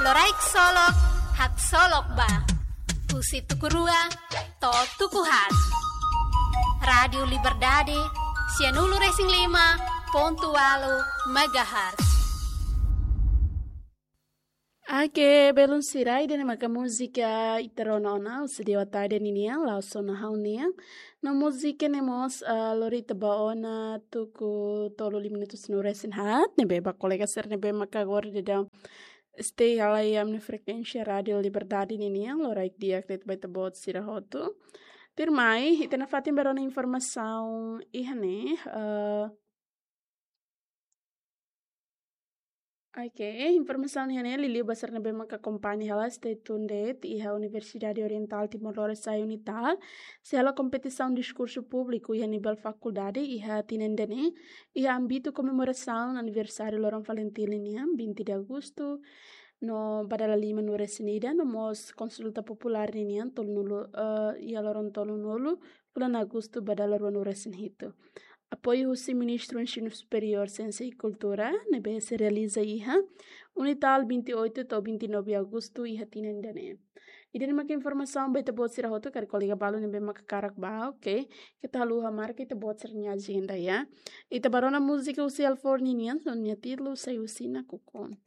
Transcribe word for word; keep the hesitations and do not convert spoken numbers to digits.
Loraik Solok, haksolok ba. Husi tuku rua to'o tuku haat. Rádiu Liberdade, sianulu-resin-lima pontu ualu megahertz. Oke, belun sira, ida-ne'e maka múzika ita rona ona husi Dewa Tade ninian, La'ós Ona Ha'u nian. No múzika ne'e mós, ah, lori ita ba ona tuku tolu lima minutu sanulu-resin-haat, ne'ebé ba kolega sira ne'ebé maka agora daudaun stay hela iha ami-nia frekuénsia Rádiu Liberdade ninian, loraik di'ak de'it ba ita-boot sira hotu. Tuirmai, ita nafatin ba rona informasaun iha ne'e, eh, oke, informasaun iha ne'e, liuliu ba sira ne'ebé maka akompaña hela, stay tuned de'it, iha Universidade Orientál Timor-Leste, UNITAL, sei halo kompetisaun diskursu públiku iha nivel fakuldade, iha tinan ida-ne'e, iha ámbitu komemorasaun aniversáriu loron Falintil nian, vinte de agosto, no ba dala lima-nulu-resin-ida, no mós konsulta populár ninian, tolunulu, eh, iha loron tolunulu, fulan agosto ba dala ruanulu-resin-hitu. Apoiu husi Ministru Ensinu Superiór, Siénsia i Kultura, ne'ebé sei realiza iha UNITAL vinte e oito to'o vinte e nove agosto iha tinan ida-ne'e. Ida-ne'e maka informasaun ba ita-boot sira hotu, karik kolega balu ne'ebé maka hakarak ba, oke. Keta haluha marka ita-boot sira-nia ajenda, ya. Ita ba rona múzika husi Alfor ninian, no nia títulu Sai Husi Nakukun.